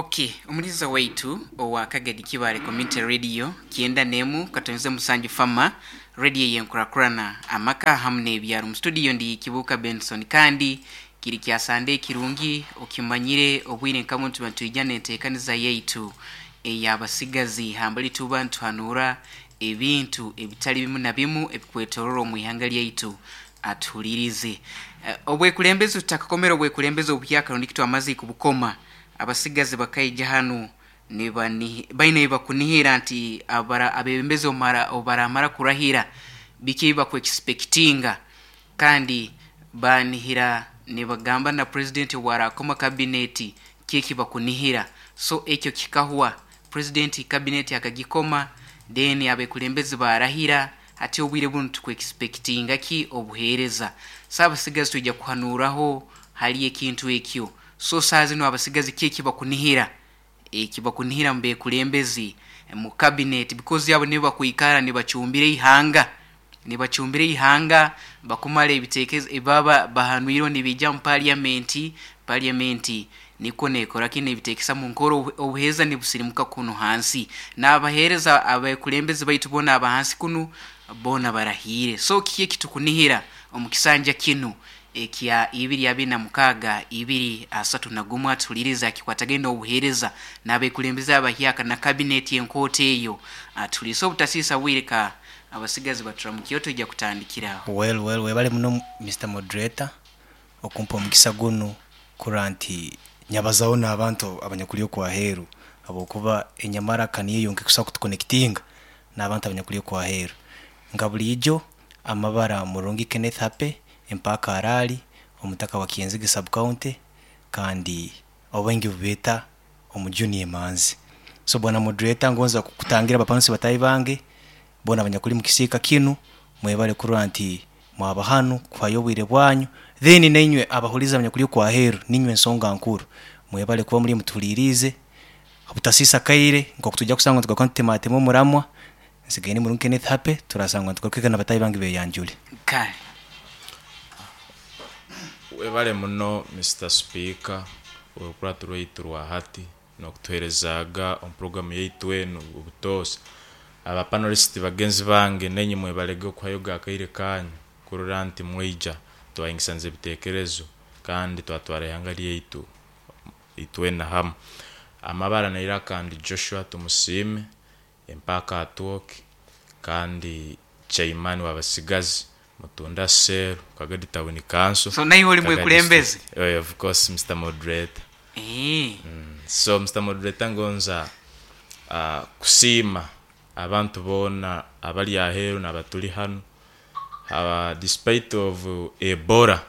Okay, omuliza waitu owa Kagadi Kibale Community Radio 91.7 Fama radio yenkurakurana amaka hamu n'ebyaro. Mu studio ndi Kibuka Benson, kandi kiri kya Sande kirungi okimanyire obwire nka muntu nitwija n'enteekaniza yaitu ey'abasigazi hambali tuba nituhanura ebintu ebitali bimu na bimu ebikwetorora omu ihanga lyaitu. Atuhulirize. Obwekulembezi tutakakomera obwekulembezi obuhyaka rundi kitwamaze kubukoma, abasigazi bakaija hanu baine ebibakunihira nti abebembezi obaramara kurahira biki ebibakwexpectinga, kandi banihira nibagamba na president owarakoma cabinet kiki bakunihira. So ekyo kikahwa, president cabinet akagikoma, then abekulembezi barahira. Hati obwire bunu tukwexpectinga ki obuheereza? So abasigazi twija kuhanuraho hali ekintu ekyo. So saa zino abasigazi kiki bakunihira, ekibakunihira mu bekulembezi mu cabinet, because abo nibo bakwikara nibacumbira ihanga, nibacumbira ihanga bakumara ebitekerezo ebaba bahanwirwe nibija mu parliament. Parliament niko nekora kino ebitekesa mu nkoro, obuheereza nibusirimuka kuno hansi, n'abaheereza abekulembezi baitu bona abahansi kunu bona barahire. So kiki ekitukunihira omu kisanja kinu ekya 2026 2031? Atuhuliriza akikwatagenda obuheereza n'abekulembezi abahyaka na cabinet enkoota eyo. Atuhuliriza obutasiisa bwire ka abasigazi baturamukiyo, tujja kutandikiraho. Well, webale muno Mr Moderator okumpa omukisa gunu kurora nti nyabazaho n'abantu abanyakuli okwaheeru, habwokuba enyamaraka niyo yonka ekusobora kutuconnectinga n'abantu abanyakuli okwaheeru. Nka buliijo amabara Murungi Kenneth Hape, empaka Harari, omutaka wa Kyenzige sub county, kandi obaingi bubeeta omujuni emanzi. So bwana moderator, ngonza kutangira abapansi batahi bange bona abanyakuli mukisiika kinu, mwebale kurora nti mwaba hanu kuhayo obwire bwanyu, then nainywe abahuliza abanyakuli okwaheeru, ninywe ensonga nkuru, mwebale kuba muli mutuhuliriize obutasiisa kaire nkoku tujja kusanga nitugaruka nitutematema omuramwa. Nsigaire ndi Murungi Kenneth Hape, turasangwa nitugaruka na batahi bange beyanjule. Kale. Webale muno Mr Speaker orukurato rwaitu rwa hati n'okutuheerezaaga omu programu yaitu enu obutoosa. Aba panelist bagenzi bange nenye mwebalege okuhayoga akaire kanyu kurora nti mwaija twahingisaniza ebitekerezo kandi twatwara ihanga lyaitu itwena hamu. Amabara nairaka ndi Joshua Tumusiime, empaka atwoki kandi chairman w'abasigazi Mutunda Cell Kagadi Town Council. So naiwe oli Kagadi mwekulembezi? District. Of course Mr Moderator. So Mr Moderator, ngonza kusiima abantu boona abali aheeru n'abatuli hanu, despite of Ebola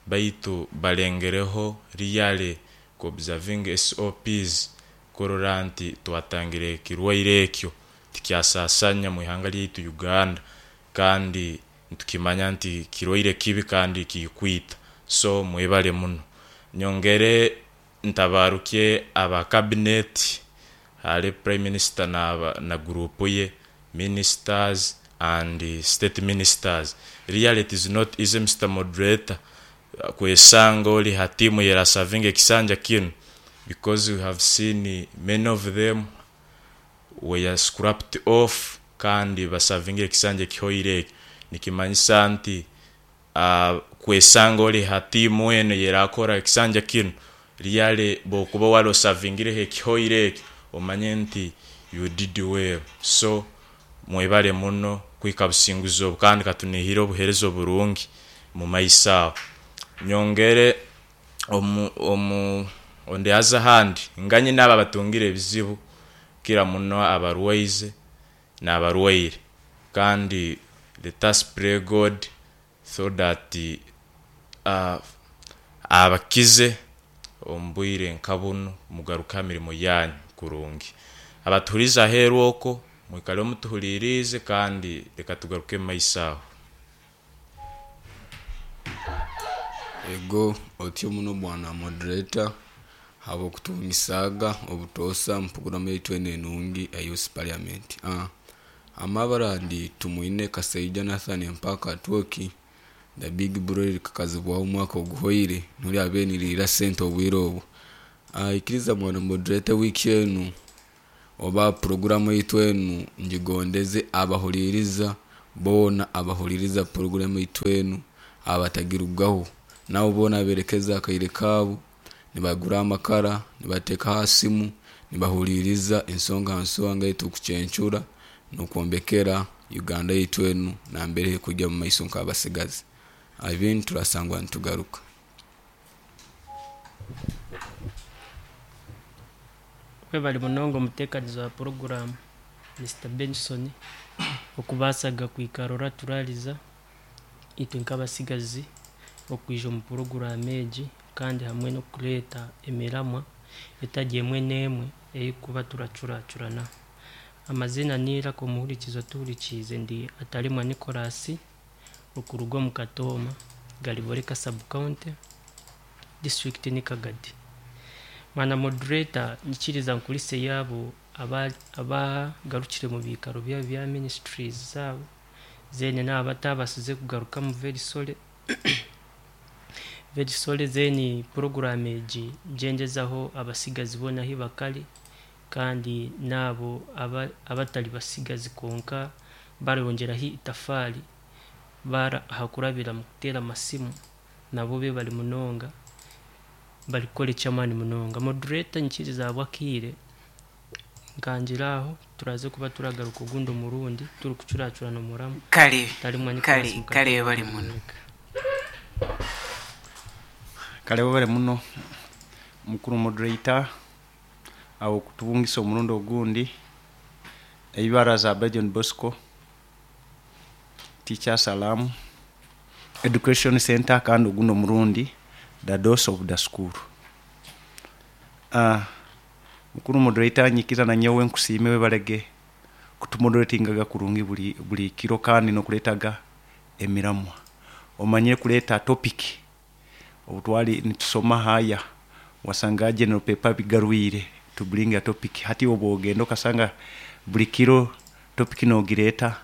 baitu balengereho really ku observing SOPs kurora nti twatangira ekirwaire ekyo tikyasasanya mu ihanga lyaitu Uganda, kandi nitukimanya nti kirwaire kibi kandi kikwita, so mwebale muno. Nyongere ntabarukye aba cabinet hali Prime Minister na group ye, ministers and state ministers. Really it is not easy Mr Moderator kwesanga ori ha tiimu eyerasavinga ekisanja kinu, because we have seen many of them were scrapped off kandi basavingire ekisanja ekihoire ekyo. Nikimanyisa nti kwesanga ori ha tiimu enu eyerakora ekisanja kinu, really bwokuba wali osavingireho ekihoire ekyo, omanye nti you did well. So mwebale muno kuhika businguzi obu kandi katunihire obuhereza oburungi mumaiso aho. Nyongere omu on the other hand, nganye naabo abatungire ebizibu kukira muno abarwaize n'abarwaire, kandi let us pray God so that abakize omu bwire nka bunu mugaruke ha mirimo yanyu kurungi. Abatuhuliize aheeru okwo mwikaleho mutuhuliiriize kandi leka tugaruke omu maiso aho. Ego otyo muno bwana moderator habw'okutungisaaga obutoosa mu puroguramu yaitu enu enungi eya Youth Parliament. Amabara ndi Tumwine Kasaija Nathan Empaka Atwoki, the big bro kakazibwaho omwaka oguhoire noli abaire niriira sente obwire obu. Ikiriza mwana moderator, wiiki enu oba puroguramu yaitu enu ngigondeze abahuliriza boona abahuliriza puroguramu yaitu enu abatagirugaho, nabo boona aberekeza akaire kaabo nibagura amakara nibateeka ha simu nibahuliriza ensonga ha nsonga etukucencura n'okwombekera Uganda yaitu enu nambere ekujya mu maiso nk'abasigazi. Ebindi turasangwa nitugaruka. Webale munonga omuteekanizi wa puroguraamu Mr Benson okubaasaga kwikara oraturariza itwe nk'abasigazi okwija omu puroguraamu egi kandi hamwe n'okureeta emiramwa etari emwe n'emwe eyikuba turacuracurana. Amazina niiraka omuhurikizi otuhurikiize ndi Atarimwa Nicholas okuruga omu Katooma, Gariboreka sub county, district ni Kagadi. Mwana moderator, nyikiriza nkurise yaabo abagarukire mu biikaro byabo bya ministries zaabo then naabo abatabasize kugarukamu very sorry, very sorry. Then program egi ngyendezaho abasigazi boona ahi bakari kandi naabo abatari basigazi konka barongeraho itafaari bara ahakurabira mu kuteera amasimu nabo bebare munonga barikukora eky'amaani munonga. Moderator, nyikiriza ahabw'akaire nkangira aho turaze kuba turagaruka ogundi omurundi turikucuracurana omuramu. Kale. Tarimwa Nicholas. Kale. Mukatooma. Kale bali muno. Kale webale muno mukuru moderator awo kutubungisa omurundi ogundi. Eibara za John Bosco, Teacher Salam Education Center, kandi ogundi omurundi the dos of the school. Mukuru moderator, nyikiza na nyowe nkusiime, webalege kutumoderatingaga kurungi buli kiro kandi nokuletaga emiramwa, omanyire kuleta topic. Obutwali nitusoma haya wasanga general paper bigarwire to bring a topic. Hati obu ogenda okasanga buli kiro topic nogireta,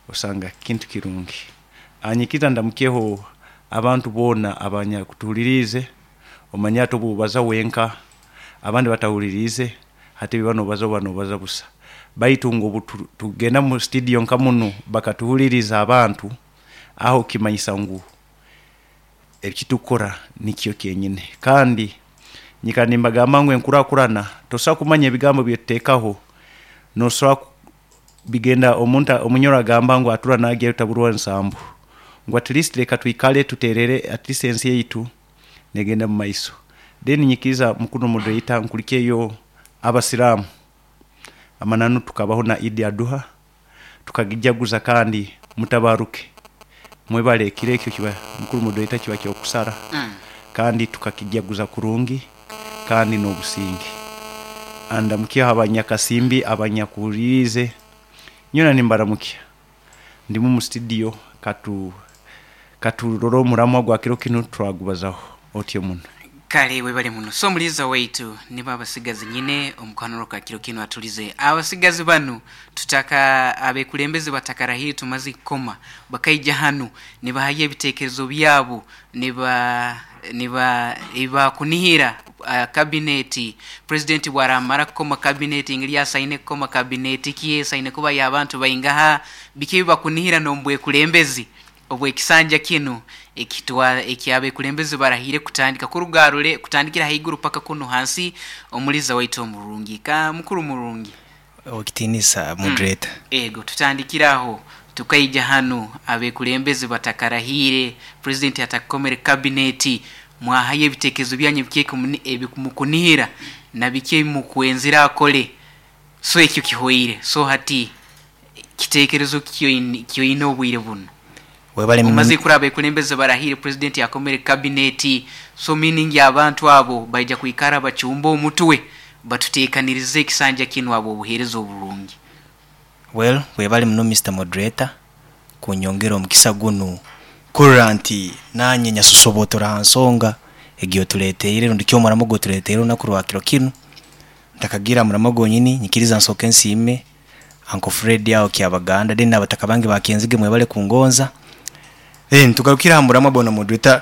osanga kintu kirungi. Anyikiza ndamukyeho abantu boona abanyakutuhuliriize. Omanye ati obubaza wenka abandi batahuliriize, hati biba nobaza oba nobaza busa, baitu ngu obu tugenda mu studio nka muno bakatuhuliriza abantu, aho kimanyisa ngu ekitukora nikyo kyenyine. Kandi nyika nimbagamba ngu enkurakurana tosobola kumanya ebigambo byetuteekaho, nosobola bigenda omuntu omunyoro agamba ngu atura nagya taburwa nsambu, ngu at least leka twikale tuterere, at least ensi yaitu negenda mu maiso. Then nyikiriza mukuru moderator nkulikeyo abasiramu, amananu tukabaho na Idi Aduha tukagijaguza, kandi mutabaruke, mwebale. Ekiro ekyo kiba mukuru moderator kiba kyokusara kandi tukakijaguza kurungi kandi n'obusinge. Andamukyeho abanyakasimbi abanyakuhuliriize nyona nimbaramukya. Ndimu mu studio, katurore omuramwa gwa kiro kinu twagubazaho otyo muno. Kale webale muno. So omuliza waitu nibo abasigazi nyine omukanuro ka kiro kinu atulize abasigazi banu tutaka abekulembeze batakarahiri tumaze kukoma bakaija hanu nibahayo ebitekerezo byabo niba ibakunihira kabineti president bwaramara kukoma kabineti ngeri asaine kukoma kabineti kiye saine kuba y'abantu baingaha biki bakunihira n'ombwekulembezi obwekisanja kinu ekitwa ekyabekulembeze barahire kutandika kurugarule kutandikira haiguru paka kuno hansi. Omuliza waitu omurungi ka mukuru murungi. Okitinisa moderator. Ego tutandikiraho tukaija hanu abekulembeze batakarahire, president atakomere kabineti, mwahayo ebitekerezo byanyu biki ebimukunihira na biki mukwenzira akole. So ekyo kihoire, so hati kitekerezo kyoine obwire buno? Webale. Omaze kuraba abekulembeze barahire, president yakomere kabineti, so meaning abantu abo baija kwikara bacumba omutwe batuteekanirize ekisanja kinu abo obuheereza oburungi. Well, webale muno Mr Moderator kunyongera omukisa gunu kurora nti nanye nyasosobotora ha nsonga egi otuleteire rundi ki omuramo gwotuleteire olunaku rwa kiro kinu. Ntakagira muramo gwonyini, nyikiriza nsooke nsiime Uncle Fred aho Kyabaganda, then n'abataka bange ba Kyenzige, mwebale kungonza. Then tugarukire aha muramwa bwana moderator.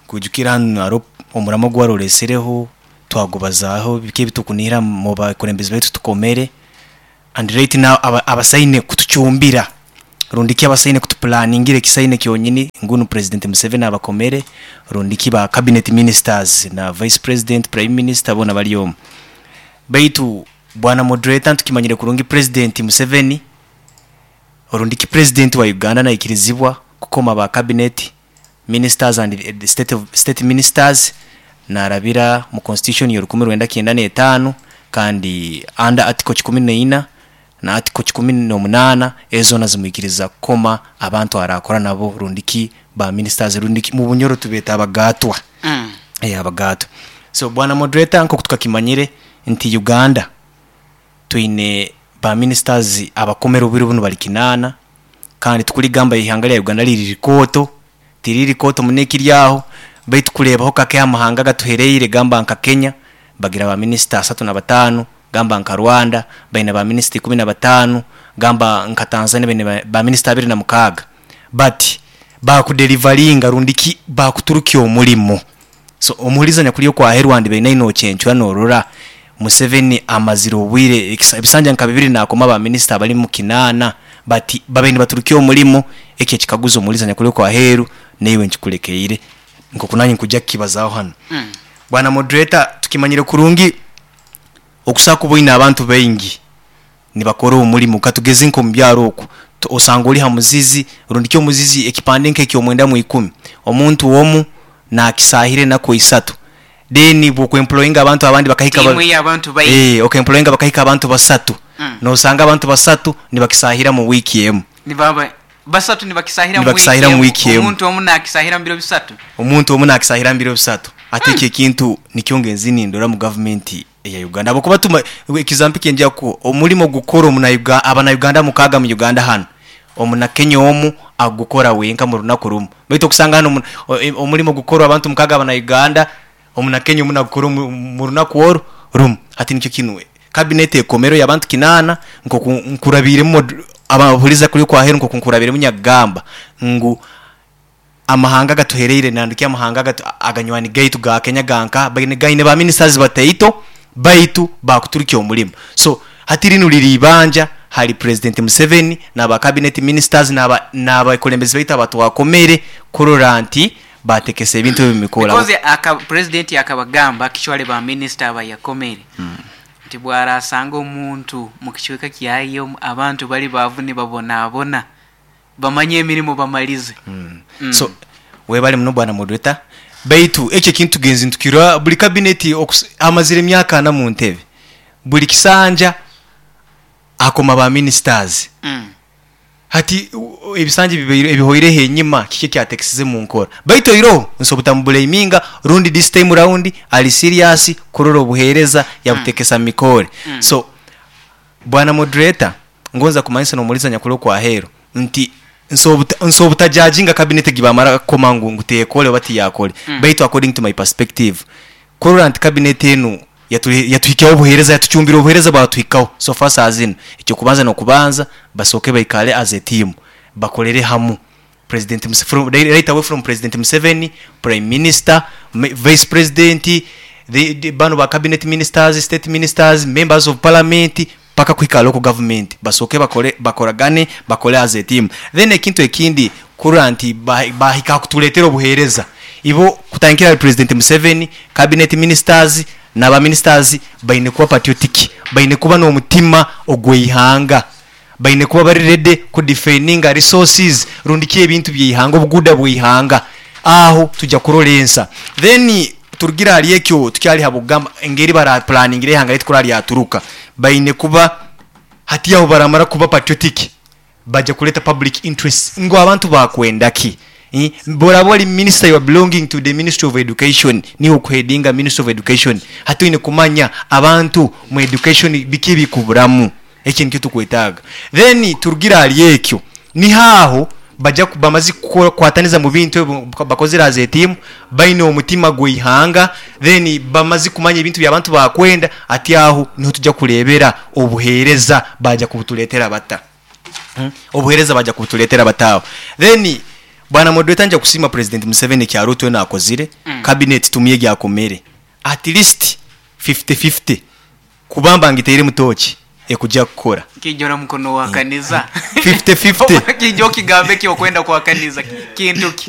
Kwijukira hanu hariho omuramo gwarolesireho. Twagubazaaho biki ebitukunihira mu bakulembeze baitu tukomere, and right now abasaine kutucumbira rundi ki abasaine kutupulaningira ekisaine kyonyini ngunu President Museveni abakomere, rundi ki ba cabinet ministers na vice president, prime minister boona bari omu. Baitu bwana moderator ntukimanyire kurungi President Museveni rundi ki president wa Uganda naikirizibwa kukoma ba cabinet ministers and the state, of, state ministers narabira mu constitution ya 1995 kandi under article 14 na article 18 ezo zimwikiriza kukoma abantu arakora nabo rundi ki ba ministers rundi ki mu Bunyoro tubeeta abagatwa. Abagatwa. So bwana moderator, nkoku tukakimanyire nti Uganda twine ba ministers abakomere obwire bunu bali 8, kandi tukuligamba ihanga lya Uganda liri rikooto, tiriri rikooto muno ekiri aho, baitu kureebaho kake amahanga gatuhereire, gamba nka Kenya bagira ba minisita 35, gamba nka Rwanda baine ba minisita 15, gamba nka Tanzania baine ba minisita 26, but bakudelivaringa rundi ki bakuturukya omulimo. So omuhuriza nyakuri okwahe Rwanda baine inokyencura norora Museveni amazire obwire ebisanja nka 2 nakoma ba minisita abali mu 8, but babaine baturukya omulimo. Ekyo ekikaguzo omuhuriza nyakuri okwaheru neiwe nkikulekeire nkoku nanyi nkujja kukibazaho hano. Bwana moderator, tukimanyire kurungi okusa kuboine abantu baingi nibakora omulimo katugeze nko mubyaro oku osanga oli ha muzizi rundi kyo muzizi ekipande nke 90 omuntu omu nakisahire nako 3, then bwokwemployinga abantu abandi bakahika abantu baingi, okemployinga bakahika abantu 3, nosanga abantu 3 nibakisahira mu wiki emu, nibaba 3 nibakisahira mu wiki emu, omuntu omu nakisahira mbiro 3, omuntu omu nakisahira mbiro 3. Ate ekyo ekintu nikyo ngenzi nindora mu government ya Uganda. Abakuba tuma example kenja ko omulimo gukora omuna abana Uganda mukaga mu Uganda hano omuna Kenya omu agukora wenka mu runaku rumu, baitu okusanga hano omulimo gukora abantu mukaga abana Uganda omuna Kenya omuna gukora mu runaku rumu. Ati nikyo kinwe cabinet ekomero y'abantu 8 nko nkurabiremo abahuliza kuri kwa heru nko nkurabiremo nyagamba ngu amahanga gatuhereire nanduki amahanga aganywani gaitu ga Kenya ganka baine gaine ba ministers bataito baitu bakuturukya omulimo. So hati rinu liri ibanja hari President Museveni n'aba cabinet ministers n'abakulembeze baitu abatwakomere kurora nti batekese ebintu ebimikora. Because aka president akabagamba kichwale ba minister abayakomere nti bwarasanga omuntu mu kichweka kyayo abantu bali bavu ni babonabona bamanye emirimu bamalize. So webali muno bwana moderator, baitu ekyo kintu genzi ntukira buli cabinet amazire emyaka 4 mu ntebe buli kisanja akoma ba ministers. Hati ebisanja ebihoire henyima kike kyatekesize mu nkora, baitu iro nsobutambulaiminga rundi this time round ali serious kurora obuhereza yabutekesa mikore. So bwana moderator, ngonza kumanyisa nomuliza nyakulo kwa hero nti nsobutajajinga cabinet gibamara koma ngu ngutekole bati yakole, baitu according to my perspective kurora nti cabinet enu yatuhikaho obuhereza yatucumbira obuhereza bwatuhikaho so far as ekyo kubanza no kubanza basoke baikale as a team bakolere hamu President Museveni, right away from President Museveni, Prime Minister, Vice President, the bano ba cabinet ministers, state ministers, members of parliament paka kuhika local government basoke bakole bakoragane bakole as a team. Then ekintu ekindi kurora nti bahika kutuletera obuhereza ibo kutankira President Museveni, cabinet ministers n'aba ministers baine kuba patriotic, baine kuba n'omutima ogweihanga, baine kuba bari ready ku defending resources rundi ki ebintu by'ihanga obuguda bw'ihanga aho tujja kurolensa. Then turugira ali ekyo tukyali habugamba engeri bara planning ihanga letu kurali yaturuka baine kuba hati aho baramara kuba patriotic baje kuleta public interest ngo abantu bakwenda ki. Boraboli minister you are belonging to the Ministry of Education ni okuhedinga Ministry of Education hatuine kumanya abantu mu education biki bikuburamu eki nikyo tukwetaga. Then turugira ali ekyo ni haho baja bamazi kwataniza mu bintu bakozera as a team baine omutima gw'ihanga, then bamazi kumanya ebintu by'abantu bakwenda ati aho niho tujja kurebera obuhereza baja kubutuletera bata obuhereza baja kubutuletera bataho. Then bwana moderator nja kusima President Museveni kyaruto na akozire cabinet tumye gyakomere at least 50-50 kubamba ngiteiremu tochi ekujja kukora. Kijora mukono wakaniza. 50-50. Kijo kigambe kyokwenda kwakaniza kintu ki?